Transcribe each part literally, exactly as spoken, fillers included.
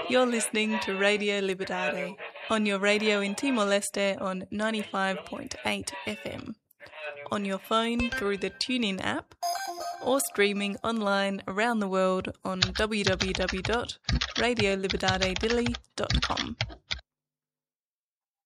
You're listening to Radio Liberdade on your radio in Timor-Leste on ninety-five point eight F M, on your phone through the TuneIn app, or streaming online around the world on w w w dot radio liberdade dili dot com.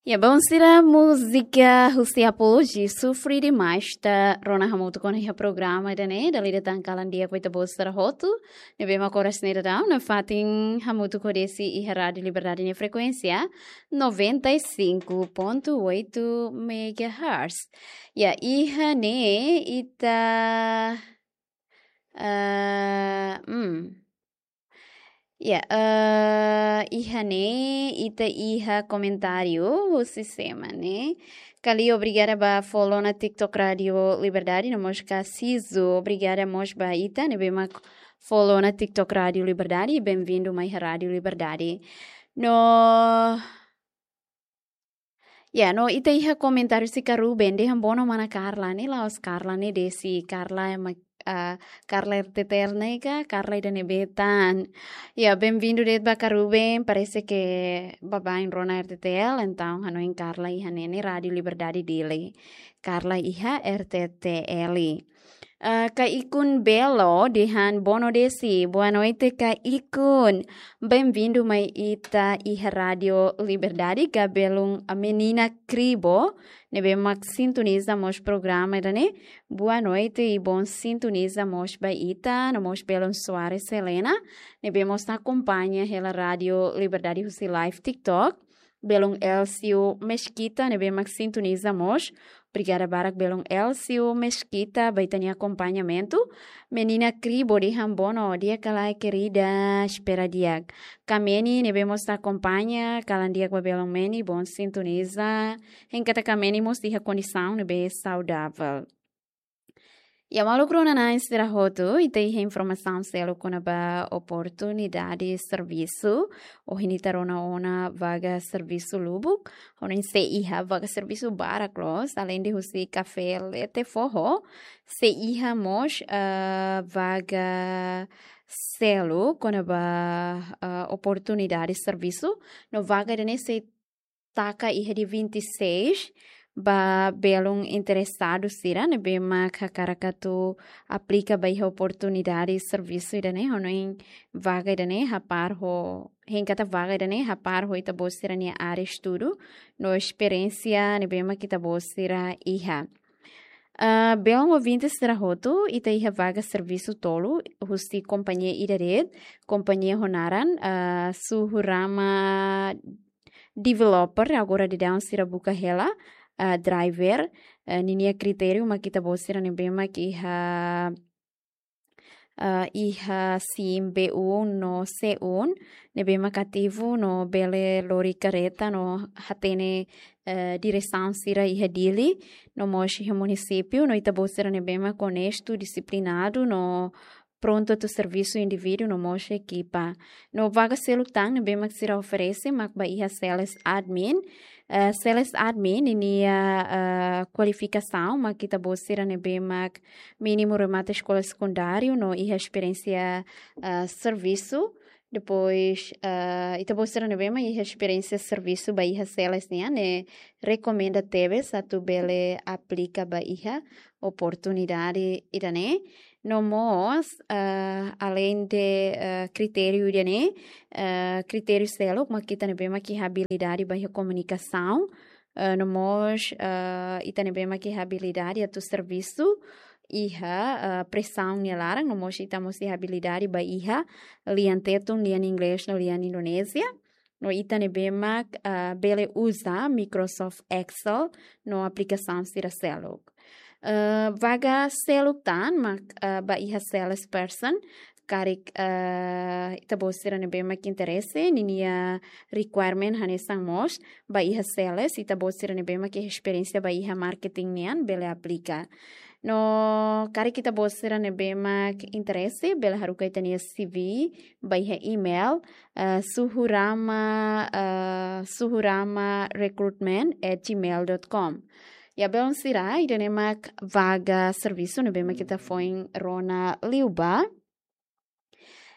Ya, bom, sira, múzika husi Apologia, Sofri Demais, ita rona hamutuk ona iha programa ida-ne'e, dala ida tan kalan di'ak ba ita-boot sira hotu ne'ebé mak oras ne'e daudaun nafatin hamutuk ho Desi iha Rádio Liberdade nia frekuénsia noventa e cinco ponto oito megahertz. Ya, iha ne'e ita, ah, hmm. Ya, eh, iha ne'e ita iha komentáriu husi sira ne'e. Kali, obrigada ba follow ona TikTok Rádio Liberdade, no mós Kasizo, obrigada mós ba ita ne'ebé mak follow ona TikTok Rádio Liberdade, bem-vindo mai iha Rádio Liberdade. No, ya, no ita iha komentáriu husi Karuben, dehan bono mana Carla ne'e, la'ós Carla ne'e, Desi, Carla ema, ah, Carla R T T L ne'e ka, Carla ida ne'ebé tan. Ya, bem-vindo de'it ba Karuben, parese ke baibain rona R T T L, entaun hanoin Carla iha ne'e ne'e Rádio Liberdade Dili. Carla iha R T T L. Ah, Kaikun Belo dehan bono Desi. Boa noite, Kaikun. Bem-vindo mai ita iha Rádio Liberdade, ka belun a menina Kribo ne'ebé mak sintoniza mós programa ida-ne'e. Boa noite i bom sintoniza mós ba ita, no mós belun Soares Helena ne'ebé mós akompaña hela Rádio Liberdade husi live TikTok. Belun Elcio Mesquita ne'ebé mak sintoniza mós. Obrigada barak belun Elcio Mesquita ba ita-nia akompañamentu. Menina Kribo dehan bono, di'ak ka lae, querida, espera di'ak. Kameni ne'ebé mós akompaña, kalan di'ak ba belun Meni, bom sintoniza. Hein katak Kameni mós iha kondisaun ne'ebé saudavel. Ya, maluk rona na'in sira hotu, ita iha informasaun seluk kona-ba oportunidade servisu. Ohin ita rona ona vaga servisu lubuk, hanoin sei iha vaga servisu barak loos, alende husi kafé lete foho, sei iha mós, ah, vaga seluk kona-ba, ah, oportunidade servisu. No vaga ida-ne'e sei taka iha dia vinte e seis, ba belun interesadu sira ne'ebé mak hakarak atu aplika ba iha oportunidade servisu ida-ne'e, hanoin vaga ida-ne'e hapar ho, hein katak vaga ida-ne'e hapar ho ita-boot sira-nia área estudu no esperiénsia ne'ebé mak ita-boot sira iha. Ah, belun ouvinte sira hotu, ita iha vaga servisu tolu husi kompañia ida de'it, kompañia ho naran, ah, Suhurama Developer, agora daudaun sira buka hela, ah, driver, ah, ninia kritériu mak ita-boot sira ne'ebé mak iha, ah, iha SIM B um no C um, ne'ebé mak ativu no bele lori kareta no hatene, eh, diresaun sira iha Dili, no mós iha munisípiu, no ita-boot sira ne'ebé mak onestu, disiplinadu, no prontu atu servisu indivíduu no mós ekipa. No vaga seluk tan ne'ebé mak sira oferese mak ba iha sales admin. Eh, sales admin ninia, eh, kualifikasaun mak ita-boot sira ne'ebé mak mínimu remata eskola sekundáriu no iha esperiénsia, eh, servisu. Depois, eh, ita-boot sira ne'ebé mak iha esperiénsia servisu ba iha sales nian, ne'e rekomenda tebes atu bele aplika ba iha oportunidade ida-ne'e. No mós, eh, alende, eh, kritériu ida-ne'e, eh, kritériu seluk mak ita ne'ebé mak iha abilidade ba iha komunikasaun, eh, no mós, eh, ita ne'ebé mak iha abilidade atu servisu iha, eh, presaun nia laran, no mós ita mós iha abilidade ba iha lian Tetun, lian Inglés no lian Indonézia. No ita ne'ebé mak, ah, bele uza Microsoft Excel no aplikasaun sira seluk. Eh, vaga seluk tan mak, eh, ba iha salesperson, karik, eh, ita-boot sira ne'ebé mak interese, ninia requirement hanesan mós ba iha sales, ita-boot sira ne'ebé mak iha esperiénsia ba iha marketing nian bele aplika. No karik ita-boot sira ne'ebé mak interese, bele haruka ita-nia C V ba iha email, eh, suhurama, eh, suhurama recruitment at gmail dot com. Ya, belun sira, ida-ne'e mak vaga servisu ne'ebé mak ita foin rona liubá.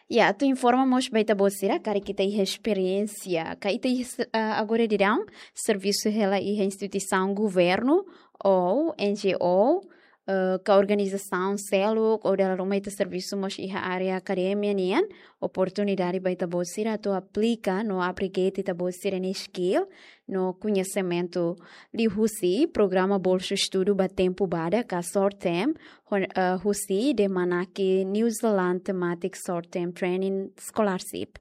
Ya, atu informa mós ba ita-boot sira karik ita iha esperiénsia ka ita iha, ah, agora daudaun servisu hela iha instituisaun governu ou N G O, eh, ka organizasaun seluk ou dala ruma ita servisu mós iha área akademia nian, oportunidade ba ita-boot sira atu aplika no upgrade ita-boot sira-nia skill no koñesimentu liuhusi programa bolsa estudu ba tempu badak ka short term, hon-, eh, husi DEMANAC New Zealand Thematic Short Term Training Scholarship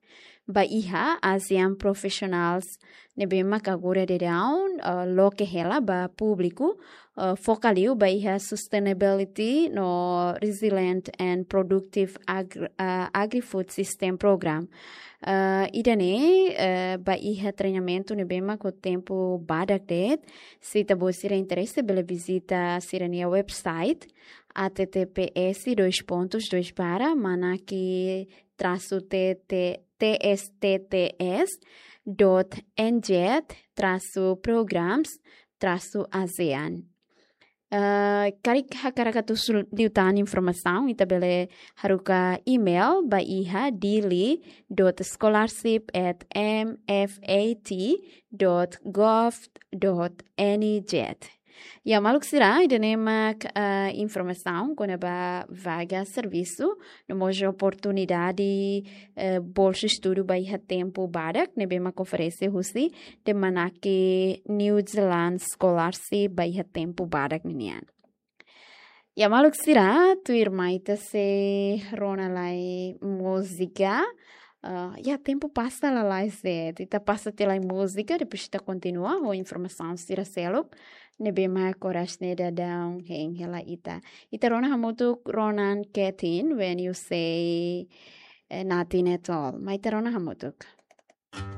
ba iha ASEAN professionals ne'ebé mak agora daudaun, eh, loke hela ba públiku, eh, foka liu ba iha sustainability no resilient and productive agri-, eh, agri-food system program. Eh, ida-ne'e, eh, ba iha treinamentu ne'ebé mak ho tempu badak de'it. Se ita-boot sira interese, bele vizita sira-nia website, H T T P S dois pontos dois barra manaki traço T T, T S T T S dot N Z traço programs traço ASEAN. Ah, karik hakarak atu husu liután informasaun, ita bele haruka email ba iha dili dot scholarship at M F A T dot gov dot N Z. Ya, maluk sira, ida-ne'e mak, ah, informasaun kona-ba vaga servisu, no mós oportunidade, eh, bolsa estudu ba iha tempu badak, ne'ebé mak oferese husi DEMANAC New Zealand Scholarship ba iha tempu badak ninian. Ya, maluk sira, tuirmai ita sei rona lai múzika. Ah, ya, tempu pasa lalais de'it. Ita pasa tiha lai múzika, depois ita kontinua ho informasaun sira seluk ne'ebé mak oras ne'e daudaun hein hela ita. Ita rona hamutuk Ronan Ketin, When You Say, eh, Nothing at All. Mai ita rona hamutuk.